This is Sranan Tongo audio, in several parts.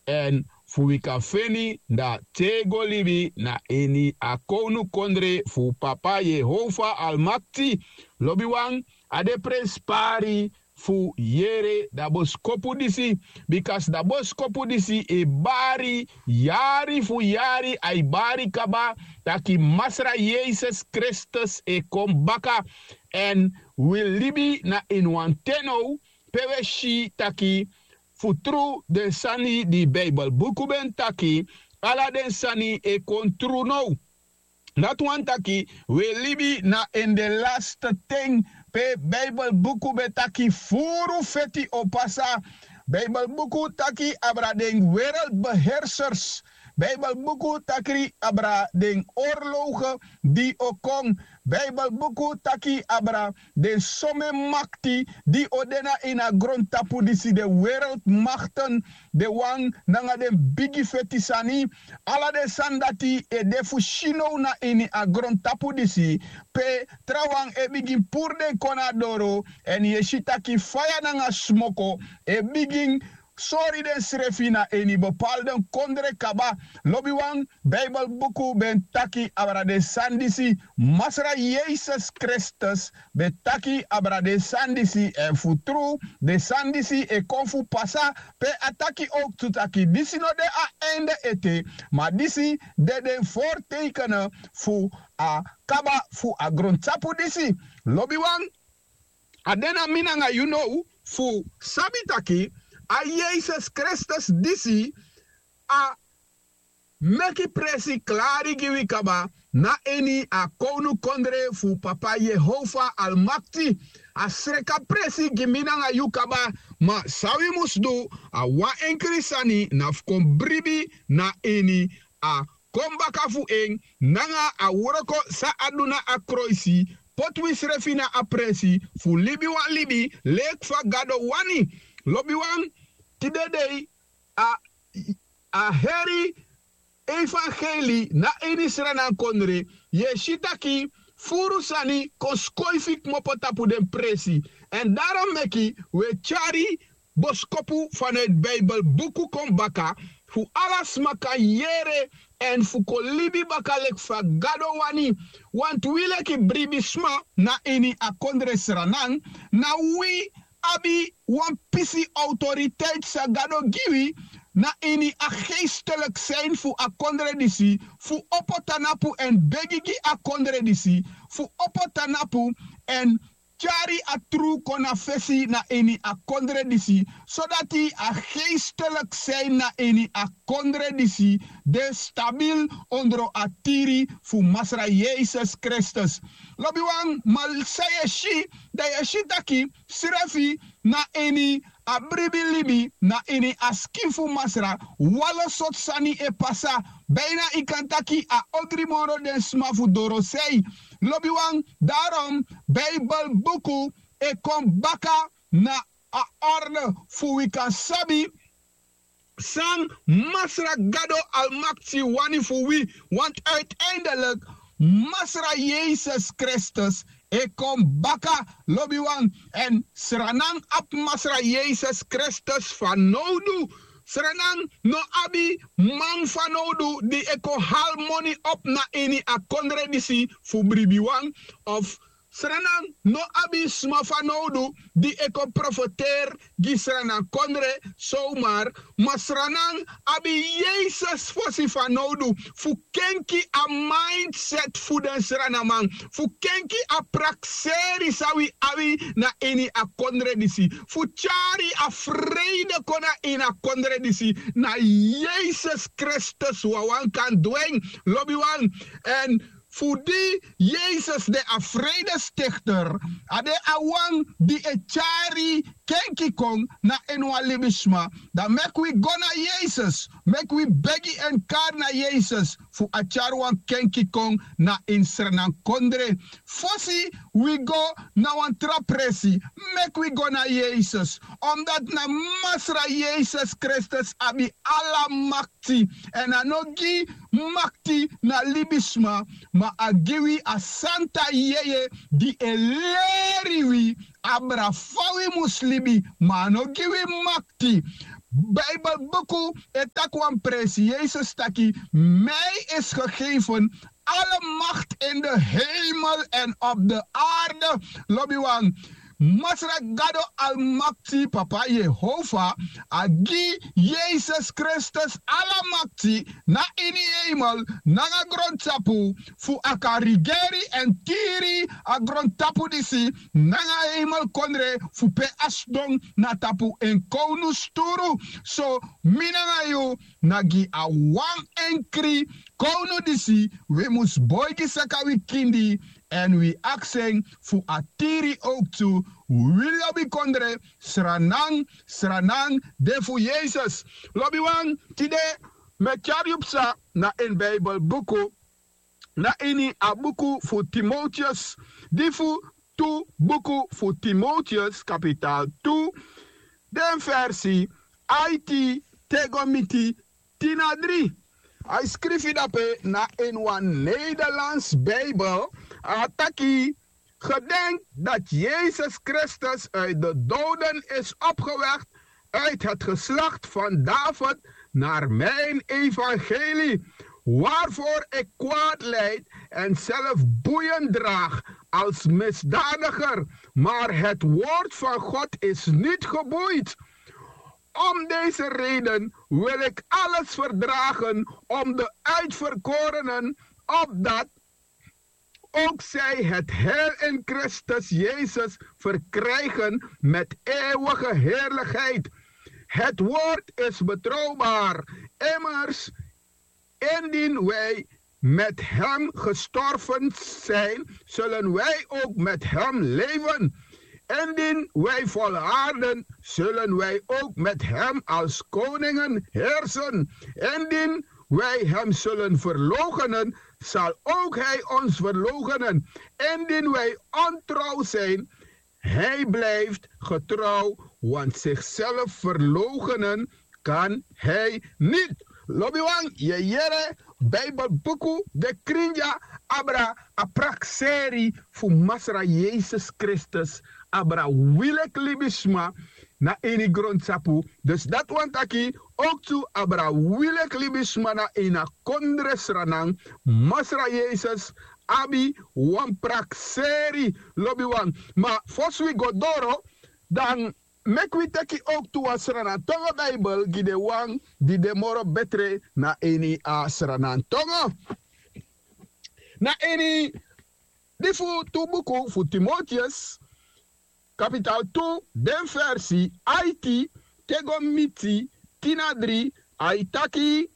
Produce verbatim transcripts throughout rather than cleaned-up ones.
èn fu wi kan feni dati e go libi na ini a kownukondre fu papa Yehova Almakti. Lobiwan, a de prenspari fu yere da boskopu disi, bika da boskopu disi e bari yari fu yari, ai bari kaba taki Masra Yesus Kristus e kon baka. Èn wi libi na ini wan ten now pe wi e si taki fu tru den sani di Bijbelbuku ben taki, ala den sani e kon tru now. Dati wani taki wi e libi na ini den laste ten pe Bijbelbuku ben taki furu feti o pasa. Bijbelbuku taki abra den wereldbeheersers. Bijbelbuku taki abra den oorlogen di o kon. Bijbelbuku taki abra den somen makti di o de na ini a grontapu disi, den wereldmakten, den wan nanga den bigi feti sani. Ala den sani dati e de fu si now na ini a grontapu disi, pe trawan e bigin puru den kon na doro, èn yu e si taki faya nanga smoko e bigin sori densrefi na ini bepaalde kondre kaba. Lobiwan, Bijbelbuku ben taki abra den sani disi. Masra Yesus Kristus ben taki abra den sani disi, èn fu tru den sani disi e kon fu pasa. Pe a taki owktu taki disi no de a einde ete, ma disi de den voortekenen fu a kaba fu a grontapu disi. Lobiwan, a de na mi nanga yu now fu sabi taki a Yesus Kristus disi a meki presi klari gi wi kaba na ini a kownukondre fu papa Yehova Almakti. A sreka presi gi mi nanga yu kaba, ma san wi mus du, a wan enkri sani na fu kon bribi na ini a kon baka fu en nanga a wroko san a du na a kroisi, poti wisrefi na a presi fu libi wan libi leki fa Gado wani. Lobiwan, tide dei a a heri evangeli na ini Sranankonre, yu e si taki furu sani kon skoifi kmopo tapu den presi. Èn daron meki wi e tyari boskopu fanowtu Bijbelbuku kon baka, fu ala sma kan yere èn fu kon libi baka leki fa Gado wani. Wantu wi leki bribisma na ini a kondre Sranan, na wi abi wan pisi awtoriteiti san Gado gi wi na ini a geisteliki sein fu a kondre disi, fu opo tanapu èn begi gi a kondre disi, fu opo tanapu èn tyari a tru kon na fesi na ini a kondre disi, sodati a geisteliki sein na ini a kondre disi de stabil ondro a tiri fu Masra Yesus Kristus. Lobiwan, ma san yu e si, dan yu e si taki srefi na ini a bribi libi na ini a skin fu Masra, wan lo sortu sani e pasa. Beina yu kan taki a ogri moro den sma fu dorosei. Lobiwan, daron Bijbelbuku e kon baka na a orde fu wi kan sabi san Masra Gado Almakti wani fu wi. Want uiteindelijk Masra Yesus Kristus e kon baka, lobiwan. Èn Sranan abi Masra Yesus Kristus fanowdu. Sranan no abi man fanowdu di e kon hali moni opu na ini a kondre disi fu bribiwan, of Sranan no abi sma fanowdu di e kon profeteri gi Sranan kondre sowmar, ma Sranan abi Yesus fosi fanowdu fu kenki a mindset fu den Srananman, fu kenki a prakseri san wi abi na ini a kondre disi, fu tyari a freide kon na ini a kondre disi. Na Yesus Kristus wawan kan du en, lobiwan. Èn fu di Yesus de a vredestichter, a de a wan di e tyari kenki kon na ini wan libisma. Dan meki wi go na Yesus, meki wi begi èn kari na Yesus fu a tyari wan kenki kon na ini Sranan kondre. Fosi wi go na wan tra presi, meki wi go na Yesus, omdat na Masra Yesus Kristus abi ala makti. Èn a no gi makti na libisma, ma a gi wi a santa yeye di e leri wi abra fa wi mus libi, ma a no gi wi makti. Bijbelbuku e taki wan prinsi Yesus taki: mij is gegeven alle macht in de hemel en op de aarde. Lobiwan, Masra Gado Almakti, Papa Yehova, a gi Yesus Kristus ala makti na ini hemel nanga grontapu, fu a kan rigeri èn tiri a grontapu disi nanga hemelkondre fu pe a sidon na tapu en kownusturu. So mi nanga yu na gi a wan enkri kownu disi wi mus boigi saka wi kindi èn wi aksi en fu a tiri owktu wi lobi kondre. Sranan, sranan de fu Yesus. Lobiwan, tide mi e tyari yu psa na ini Bijbelbuku, na ini a buku fu Timoteus, di fu tu buku fu Timoteus, kapitaal tu, den versi aiti te go miti tin na dri. A e skrifi dape na ini wan Nederlands Bijbel, a taki: Gedenk dat Jezus Christus uit de doden is opgewekt uit het geslacht van David naar mijn evangelie, waarvoor ik kwaad lijd en zelf boeien draag als misdadiger, maar het woord van God is niet geboeid. Om deze reden wil ik alles verdragen om de uitverkorenen, opdat ook zij het heil in Christus Jezus verkrijgen met eeuwige heerlijkheid. Het woord is betrouwbaar. Immers, indien wij met hem gestorven zijn, zullen wij ook met hem leven. Indien wij volharden, zullen wij ook met hem als koningen heersen. Indien wij hem zullen verloochenen, zal ook hij ons verloochenen. Indien wij ontrouw zijn, hij blijft getrouw, want zichzelf verloochenen kan hij niet. Lobiwan, yu e yere, Bijbelbuku de krin dya abra a prakseri fu Masra Yesus Kristus, abra wi leki libisma na ini grontapu. Dus dati wani taki owktu abra wi leki libisma na ini a kondre Sranan, Masra Yesus abi wan prakseri, lobiwan. Ma fosi wi go doro, dan meki wi teki owktu wan Sranan tongo Bijbel gi den wan di de moro betre na ini a Sranan tongo. Na ini di fu tu buku fu Timoteus, kapitaal tu, den versi aiti te go miti tin na dri, a e taki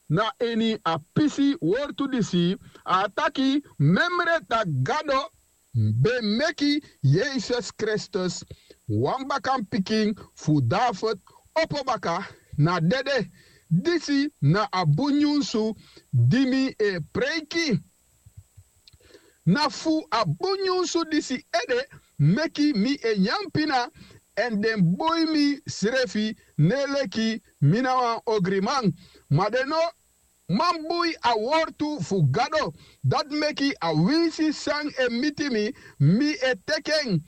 na ini a pisi wortu disi, a taki: Memre tak' Gado ben meki Yesus Kristus, wan bakanpikin fu David, opo baka na dede. Disi na a bun nyunsu di mi e preiki. Na fu a bun nyunsu disi ede meki mi e nyan pina, èn den bui misrefi, ne leki mi na wan ogriman. Ma den no man bui a wortu fu Gado. Dati meki a winsi san e miti mi, mi e teki en,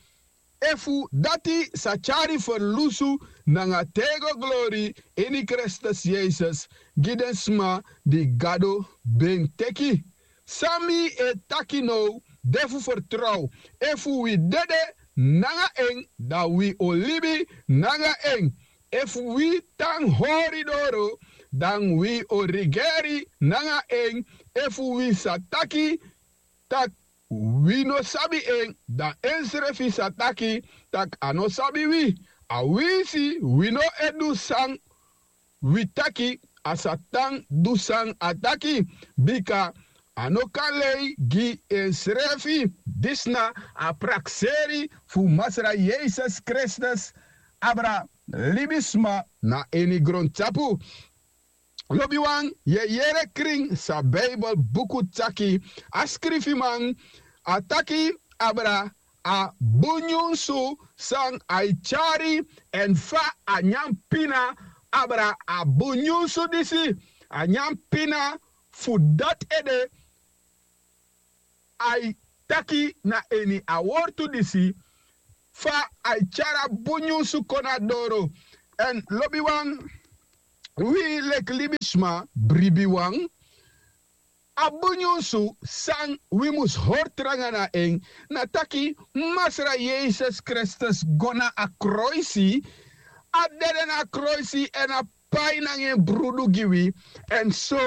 efu dati sa tyari ferlusu nanga tego glori ini Kristus Yesus gi den sma di Gado ben teki. San mi e taki now de fu fertrow. Efu wi dede nanga en, dan wi o libi nanga en. Efu wi tan hori doro, dan wi o rigeri nanga en. Efu wi sa taki tak' wi no sabi en, dan ensrefi sa taki tak' a no sabi wi. A winsi wi no e du san wi taki, a sa tan du san a taki, bika a no kan lei gi ensrefi. Disi na a prakseri fu Masra Yesus Kristus abra libisma na ini grontapu. Lobiwan, yu e yere krin san Bijbelbuku taki. A skrifiman, a taki abra a bun nyunsu san a e tyari, èn fa a nyan pina abra a bun nyunsu disi. A nyan pina fu dati ede a e taki na ini a wortu disi, fa a e tyari a bun nyunsu kon na doro. Èn lobiwan, wi leki libisma bribiwan, a bun nyunsu san wi mus hori tranga na en, na taki Masra Yesus Kristus go na a kroisi, a dede na a kroisi èn a pai nanga en brudu gi wi. Èn so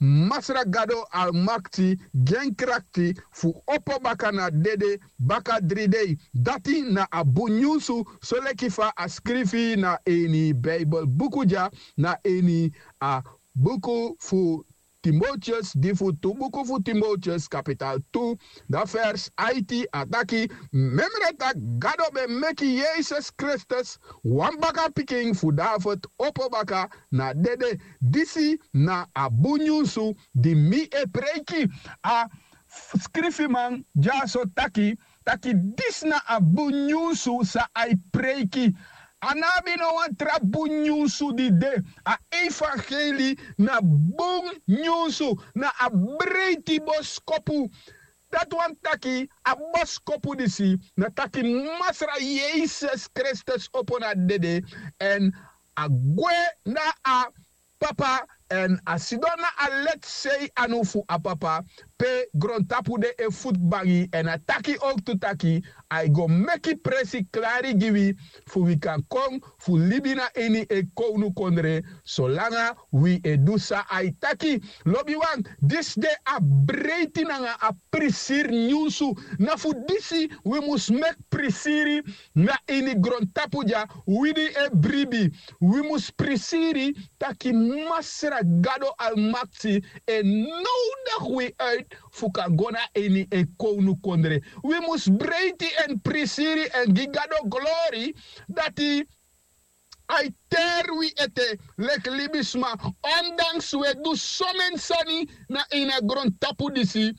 Masra Gado Almakti gi en krakti fu opo baka na dede baka dri dei. Dati na a bun nyunsu, soleki fa a skrifi na ini Bijbel buku dya, na ini a buku fu Timoteus, di fu tu buku fu Timoteus, kapital tu, da vers aiti, a taki: Memre tak' Gado ben meki Yesus Kristus, wan baka pikin fu David, opo baka na dede. Disi na a bun nyunsu di mi e preiki. A skrifiman dyaso taki, taki disi na a bun nyunsu san a e preiki. A no abi no wan tra bun nyunsu di de. A evangeli na bun nyunsu, na a breiti boskopu. Dati wani taki a boskopu disi na taki Masra Yesus Kristus opo na dede, èn a gwe na a Papa, èn a sidon na a leti sei anu fu a Papa, pe grontapu de e futu bangi, èn a taki owktu taki a e go meki presi klari gi wi, fu wi kan kon fu libi na ini en kownukondre, solanga wi e du san a e taki. Lobiwan, disi de a breiti nanga a prisiri nyunsu. Na fu disi wi mus meki prisiri na ini grontapu dya, wi di e bribi. Wi mus prisiri taki Masra Gado Almakti e nowdigi wi uit fu kan go na ini en kownukondre. Wi mus breiti èn prisiri èn gi Gado glori, dati a e teri wi ete leki libisma, ondanks wi e du someni sani na ini a grontapu disi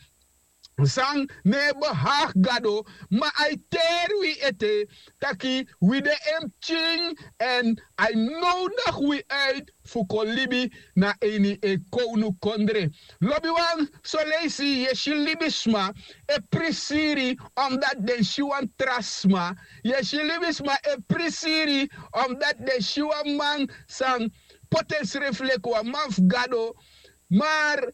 san no e behaag Gado, ma a e teri wi ete taki wi de en pikin, èn a e nowdigi wi uit fu kon libi na ini en kownukondre. Lobiwan, soleisi yu e si libisma e prisiri, omdati den si wan tra sma. Yu e si libisma e prisiri, omdati den si wan man san poti ensrefi leki wan man fu Gado. Mar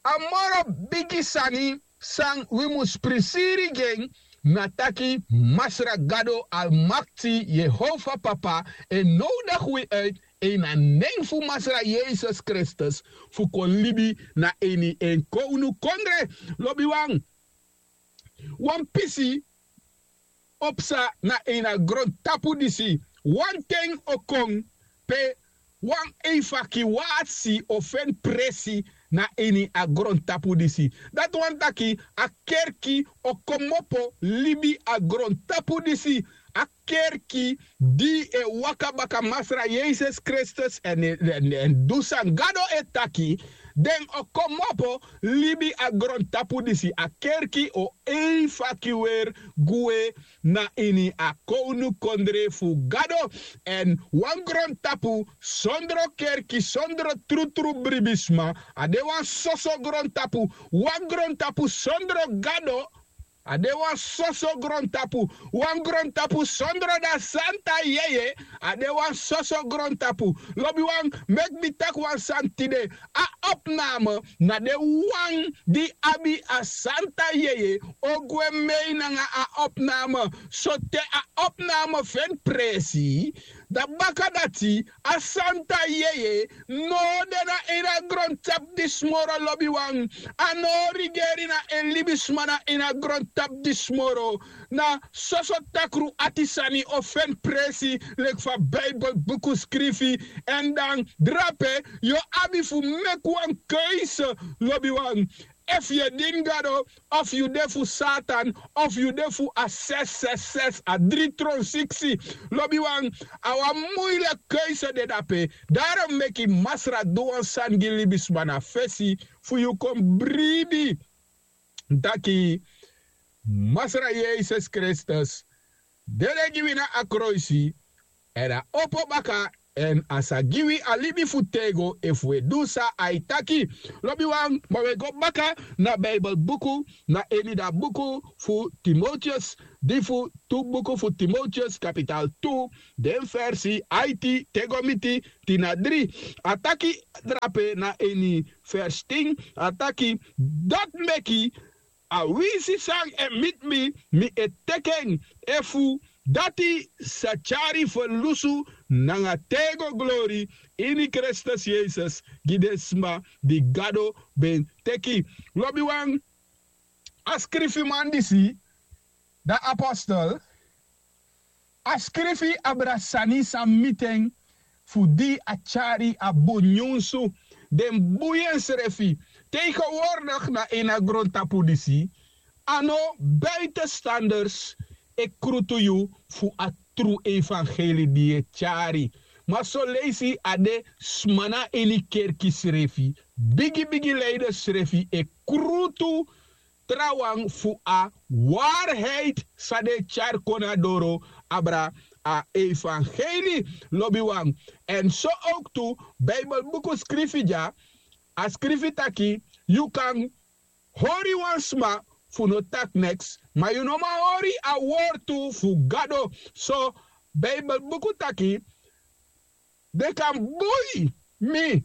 a moro bigi sani san wi mus prisiri gi en, na taki Masra Gado Almakti, Yehova Papa, e nowdigi wi uit ini a nen fu Masra Yesus Kristus fu kon libi na ini en kownukondre. Lobiwan, wan pisi o psa na ini a grontapu disi. Wan ten o kon pe wan evakuasi o feni presi na ini a grontapu disi. Dati wani taki a kerki o komopo libi a grontapu disi. A kerki di e waka baka Masra Yesus Kristus èn, èn, èn du san Gado e taki, den o komopo libi a grontapu disi. A kerki o evakueri gwe na ini a kownukondre fu Gado. Èn wan grontapu sondro kerki, sondro trutru bribisma, a de wan soso grontapu. Wan grontapu sondro Gado, a de wan soso grontapu. Wan grontapu sondro da santa yeye, a de wan soso grontapu. Lobiwan, meki mi taki wan sani tide. A opname na den wan di abi a santa yeye o gwe mei nanga a opname. Sote a opname feni presi, da baka dati a santa yeye no de na ini a grontapu disi moro, lobiwan. A no o rigeri na en libisma na ini a grontapu disi moro. Na soso takru ati sani o feni presi, leki fa Bijbel buku skrifi. Èn dan drape yu o abi fu meki wan keisi, lobiwan. Efu yu e dini Gado, of yu de fu Satan, of yu de fu a ses ses ses, a dri tron siksi. Lobiwan, a wan muileki keisi de dape. Daarom meki Masra du wan sani gi libisma na fesi fu yu kon bribi taki Masra Yesus Kristus dede gi wi na a kroisi, èn a opo baka, èn a sa gi wi a libi fu têgo efu wi e du san a e taki. Lobiwan, ma wi e go baka na Bijbel buku, na ini da buku fu Timoteus, di fu tu buku fu Timoteus kapital tu, den versi aiti te go miti tin na dri. A taki drape na ini vers tin, a taki: Dati meki a winsi san e miti mi, mi e teki en, efu dati sa tyari ferlusu nanga tego glori ini Kristus Yesus gi den sma di Gado ben teki. Lobiwan, a skrifiman disi, dan apostel, a skrifi abra sani san miti en fu di a tyari a bun nyunsu. Den bun ensrefi. Tegenwoordig na ini a grontapu disi, a no buitenstanders e krutu yu fu a tru evangeli di yu e tyari. Ma soleisi a de sma na ini kerki srefi, bigi bigi leiders srefi e krutu trawan fu a waarheid san den e tyari kon na doro abra a evangeli. Lobiwan, èn so owktu Bijbelbuku skrifi dya, a skrifi taki: Yu kan hori wan sma fu no taki neks, ma yu no man hori a wortu fu Gado. So Bijbelbuku taki den kan bui mi,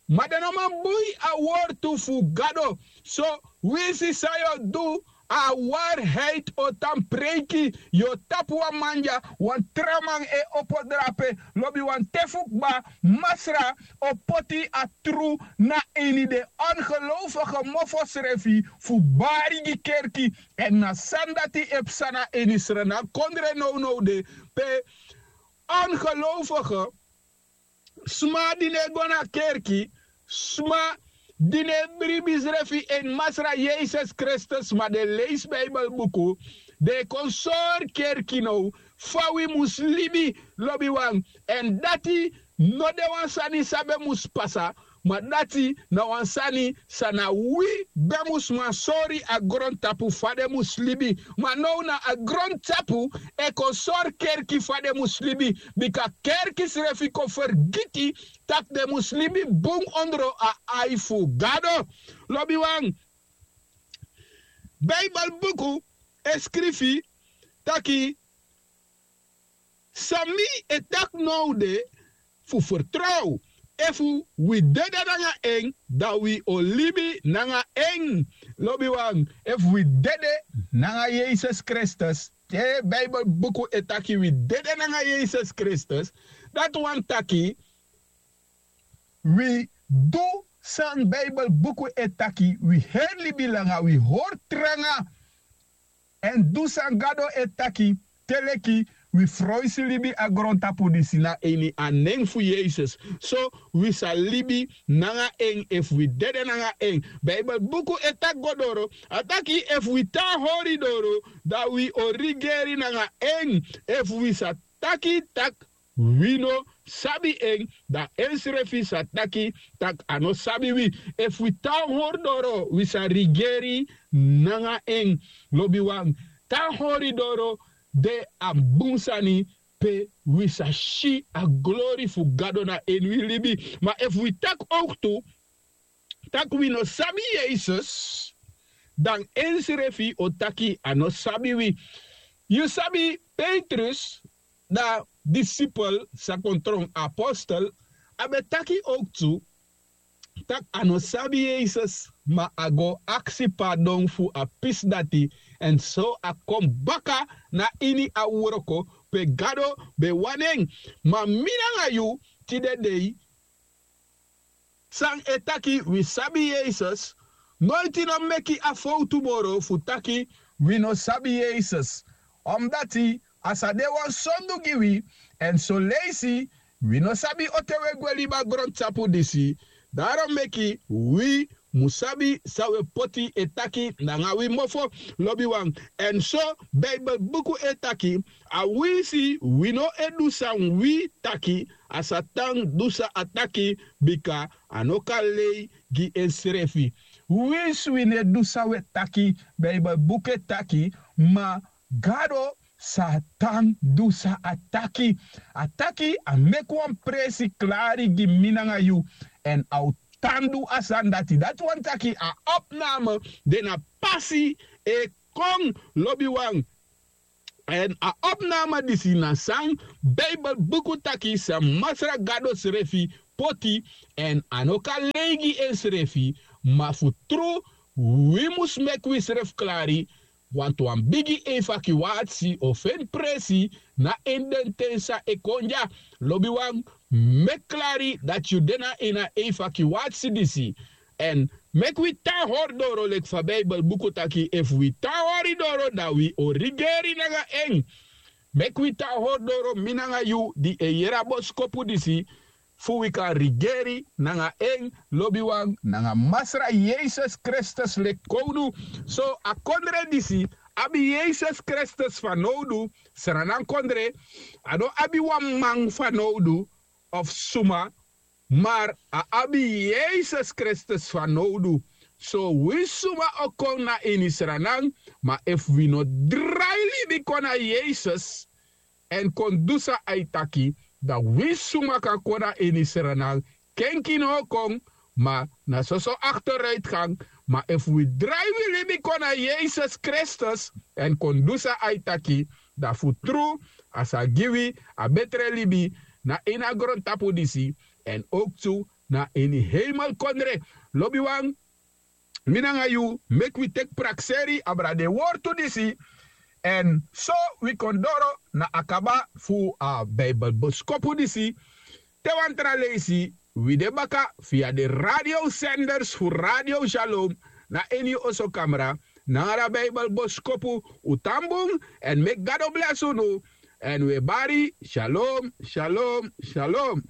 ma den no man bui a wortu fu Gado. So winsi san yu o du, a waarheid o tan preiki. Yu o tapu wan man dya, wan tra man e opo drape. Lobiwan, te fu kba, Masra o poti a tru na ini den ongeloofige mofo srefi fu bari gi kerki. Èn na sani dati e psa na ini srana kondre nownow de, pe ongeloofige sma di no e go na kerki, sma di no e bribi srefi ini Masra Yesus Kristus, ma den e leisi Bijbelbuku, den e kon sori kerki now fa wi mus libi. Lobiwan, èn dati no de wan sani san ben mus pasa, ma dati na wan sani san na wi ben mus man sori a grontapu fa den mus libi. Ma now na a grontapu e kon sori kerki fa den mus libi, bika kerki srefi kon fergiti tak' den mus libi bun ondro a ai fu Gado. Lobiwan, Bijbelbuku e skrifi taki san mi e taki now de fu fertrow. Efu wi dede nanga en, dan wi o libi nanga en. Lobiwan, efu wi dede nanga Yesus Kristus, te Bijbelbuku e taki wi dede nanga Yesus Kristus, dati wani taki wi du san Bijbelbuku e taki, wi heri libi langa, wi hori tranga, èn du san Gado e taki, te leki wi froisi libi a grontapu disi na ini a nen fu Yesus. So wi sa libi nanga en efu wi dede nanga en. Bijbelbuku e taki go doro, a taki efu wi tan hori doro, dan wi o rigeri nanga en. Efu wi sa taki tak' wi no sabi en, dan ensrefi sa taki tak' a no sabi wi. Efu wi tan hori doro, wi sa rigeri nanga en. Lobiwan, tan hori doro de a bun sani, pe wi sa si a glori fu Gado na ini wi libi. Ma efu wi taki owktu tak' wi no sabi Yesus, dan ensrefi o taki a no sabi wi. Yu sabi, Petrus, da disipel sa kon tron apostel, a ben taki owktu tak' a no sabi Yesus, ma a go aksi pardon fu a pisi dati, èn so a kon baka na ini a wroko pe Gado ben wani en. Ma mi nanga yu tide dei, san e taki wi sabi Yesus, noiti no meki a fowtu moro fu taki wi no sabi Yesus. Omdati a sa de wan sondu gi wi, èn soleisi wi no sabi on ten wi e gwe libi a grontapu disi. Daron meki wi mu sabi san wi e poti e taki nanga wi mofo. Lobiwan, èn so Bijbelbuku e taki, awinsi wi no e du san wi taki, a sa tan du san a taki, bika a no kan lei gi ensrefi. Winsi wi no e du san wi e taki, Bijbelbuku e taki, ma Gado sa tan du san a taki. A taki a meki wan presi klari gi mi nanga yu, èn a o tan du a sani dati. Dati wani taki a opname de na pasi e kon. Lobiwan, Èn a opnama disi na san Bijbelbuku taki san Masra Gado srefi poti, èn a no kan lei gi ensrefi, ma fu tru wi mus meki wisrefi klari, wantu wan bigi evakuatsi o feni presi na ini den ten san e kon dya. Lobiwan, meki klari dati yu de na ini a evakuatsi disi. Èn meki wi tan hori doro leki fa Bijbelbuku taki, efu wi tan hori doro, dan wi o rigeri nanga en. Meki wi tan hori doro, mi nanga yu di e yere a boskopu disi, fu wi kan rigeri nanga en, lobiwan, nanga Masra Yesus Kristus leki kownu. So a kondre disi abi Yesus Kristus fanowdu. Sranan kondre, a no abi wan man fanowdu of suma, mar a abi Yesus Kristus fanowdu. So wi suma o kon na ini Sranan, ma efu wi no drai libi kon na Yesus èn kon du san a e taki, dan wi suma kan kon na ini Sranan. Kenki no o kon, ma na soso akteruitgang. Ma efu wi drai wi libi kon na Yesus Kristus èn kon du san a e taki, dan fu tru a sa gi wi a betre libi na ini a grontapu disi, èn owktu na ini heimelkondre. Lobiwan, mi nanga yu, meki wi teki prakseri abra den wortu disi. Èn so wi kon doro na a kaba fu a Bijbelboskopu disi. Te wan tra leisi, wi de baka via den radiosenders fu Radio Shalom na ini yu osokamra nanga a Bijbelboskopu. Un tan bun, èn meki Gado blesi unu. Èn wi e bari, shalom, shalom, shalom.